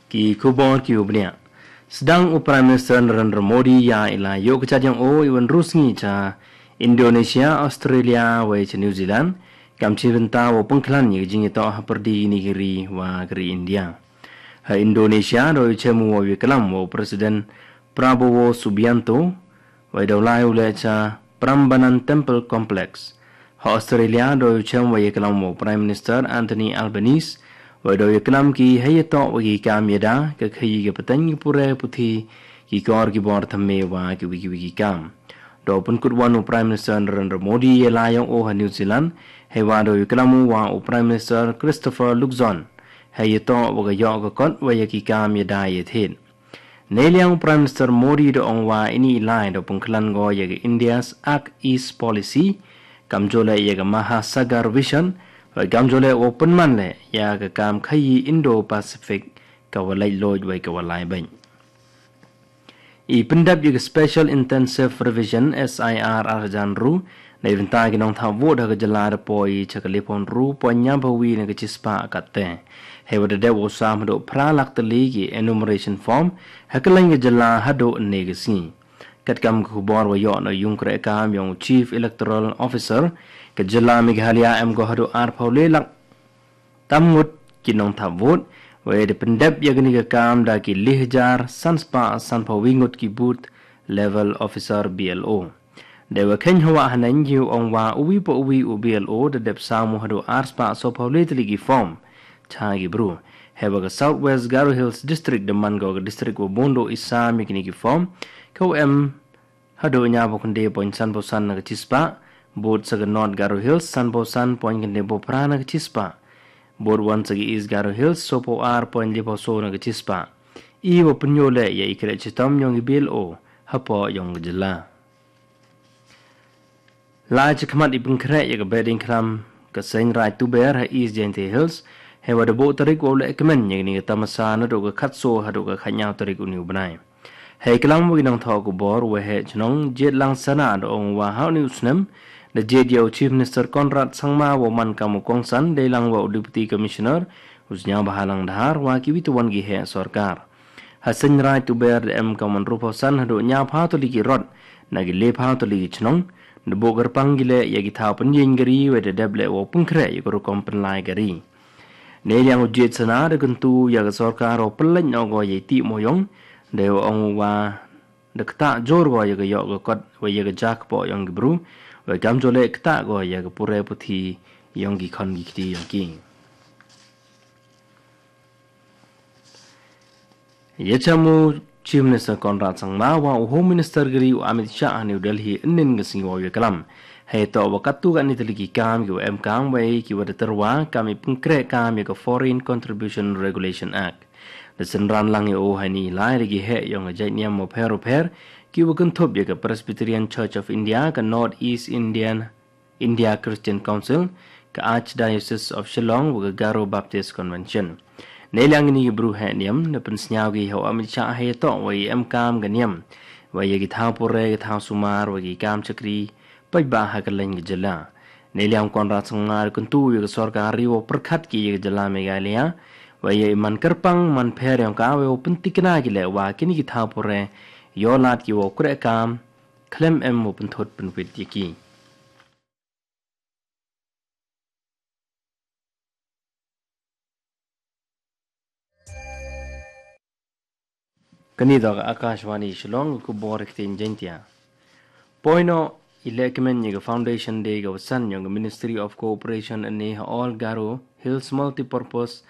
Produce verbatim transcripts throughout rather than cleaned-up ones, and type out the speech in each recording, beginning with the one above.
Ki khubor ki u bniah. Sdang u Prime Minister Narendra Modi ïa i la ïoh ka jait ïong o i wan rus ngi cha Indonesia, Australia, wei cha New Zealand, kam chi bynta wa pengklan ïa ka jingïatoh ha pyrdi ini ka ri wa ka ri India. Ha Indonesia da u chem u wa ïa klam wa u President Prabowo Subianto, wei da u lai u leh cha Prambanan Temple Complex. Ha Australia da u chem wa ïa klam wa u Prime Minister Anthony Albanese, wei da u ïa klam ki hei ïatoh wa ki kam ïada, ka khaïi ka pateng ki pure puthi, ki kor ki bor thymme wa ki wiki wiki kam. Da u pynkut wan u Prime Minister Narendra Modi ïa la ïong o ha New Zealand, hei wa da u ïa klam u wa u Prime Minister Christopher Luxon, hei ïatoh wa ka ïoh ka kot wa ïa ki kam ïada ïa thied. Nei liang u Prime Minister Modi da ong wa ini i lai da pengklan go ïa ka India's Act East Policy, kam jole ïa ka Mahasagar Vision, wa kam jole wa pynman le ïa ka kam khaïi Indo-Pacific ka wa lait loj wei ka wa lai beng. I pyndep ïa ka Special Intensive Revision, S I R, arjan ru, na i bynta ki nongthap vote ha ka jylla da poi cha ka lipon ru poi nyam ba wi na ka chispah katte. Hei wa da dep wa sam haduh phra lak tylli ki enumeration form, ha ka leng ka jylla haduh ne ka sngi. Katkam ka khubor wa ïoh na yung kreh kam ïong Chief Electoral Officer, ka jylla Meghalaya em go haduh arphaw le lak tam ngut ki nongthap vote, wei da pyndep ïa kani ka kam da ki le hajar san spah sanphaw wi ngut ki booth level officer B L O. Da wa khein hawa hanen yu ong wa uwi pa uwi u B L O da dep sam u haduh ar spah sawphaw le tylli ki form cha ki bru. Hei wa ka South West Garo Hills District da man go ka district wa bun do i sam ïa kini ki form, ka u em haduh nyaboknde point sanphaw san na ka chispah, bud sa ka North Garo Hills sanphaw san point kynde bo phra na ka chispah, bud wan sa ka East Garo Hills sawphaw ar point lipawso na ka chispah. I wa pynyo le ïa i kreh chitom ïong i B L O hapoh ïong ka jylla. Lai chi khmat i pynkhreh ïa ka bedding khlam ka Seiñ Raij Tuber ha East Jaintia Hills, hei wa da buh tarik wa u leh kmen ïa kani ka tamasa naduh ka khatso haduh ka khatnyaw tarik u ni u bnai. Hei klam wa ki nongthoh khubor, wa heh chnong Jied Langsana da ong wa ha u ni u snem da jied ïa u Chief Minister Conrad Sangma wa man kam u kongsan dei lang wa u Deputy Commissioner u Sniawbhalang Dhar wa ki wi tu wan ki heh sorkar. Ha Seiñ Raij Tuber da em kam man ruphaw san haduh nyaphaw tylli ki rot na ki lephaw tylli ki chnong, da buh kyrpang ki leh ïa ki thaw pynïeng kari wei da dep leh wa u pynkhreh ïa ka rukom pynlai kari. Nei liang u Jied Sana da kyntu ïa ka sorkar u pynleit noh go ïa i tih moyong, da u ong wa da ktah jur go ïa ka ïoh ka kot wei ïa ka ja kpoh ïong ki bru, wei kam jole ktah go ïa ka pure puthi ïong ki khon ki kti ïong ki. Ïa chamu Chief Minister Conrad Sangma wa u Home Minister kari u Amit Shah ha New Delhi ynnin ka sngi wa u ïa klam. Hei to wa katu ka ni tylli ki kam ki wa em kam wei ki wa da tyrwa kam i pynkhreh kam ïa ka Foreign Contribution Regulation Act. Da synran lang ïa u ha ini i lai da ki heh ïong ka jait niam wa pher wa pher ki wa kynthup ïa ka Presbyterian Church of India, ka North East Indian India Christian Council, ka Archdiocese of Shillong wa ka Garo Baptist Convention. Nei liang ini ki bru heh niam da pynsngiaw ki ha u Amit Shah hei to wa i em kam ka niam wa ïa ki thaw pure, ki thaw sumar wa ki kam chakri paidbah ha ka leng ka jylla. Nei liang Conrad Sangma da kyntu ïa ka sorkar ri wa pyrkhat ki ïa ka jylla Meghalaya wa ïa i man kyrpang man pher ïong ka wei wa pyntikna ki leh wa kini ki thaw pure ïoh lad ki wa u kreh kam khlem em wa pynthut pynwit ïa ki. Kani da ka Akashvani Shillong, ka khubor ktien Jaintia. Poi noh i leh kmen ïa ka Foundation Day ka wa san ïong ka Ministry of Cooperation and ha All Garo Hills Multipurpose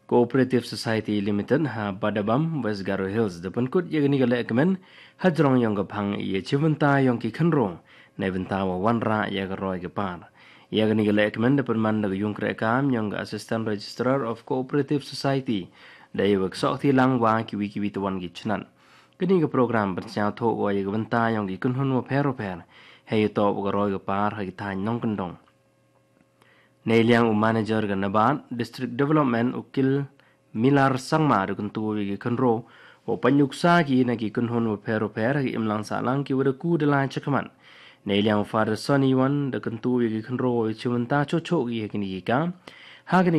Cooperative Society Limited ha Badabam, West Garo Hills, da pynkut ïa kani ka leh kmen ha jrong ïong ka phang ïa chibynta ïong ki khynro na bynta wa wanrah ïa ka roi ka par. Ïa kani ka leh kmen da pynman da ka ïung kreh kam ïong ka Assistant Registrar of Cooperative Society da ïa wa ksoh kti lang wa ki wi ki wi tawan ki chnat. Kani ka program pynsngiaw thoh wa ïa ka bynta ïong ki kynhun wa pher wa pher hei ïa to wa ka roi ka par ha ki thaiñ nongkyndong. Nei liang u manager ka NABARD District Development u Kil Milar Sangma da kyntu ïa ki khynro wa pynuksa ki na ki kynhun wa pher wa pher ha ki imlang sahlang ki wa da ku da lai chakhmat. Nei liang u Father Sonny Wan da kyntu ïa ki khynro wa chibynta choh choh ki ha kini ki kam ha kini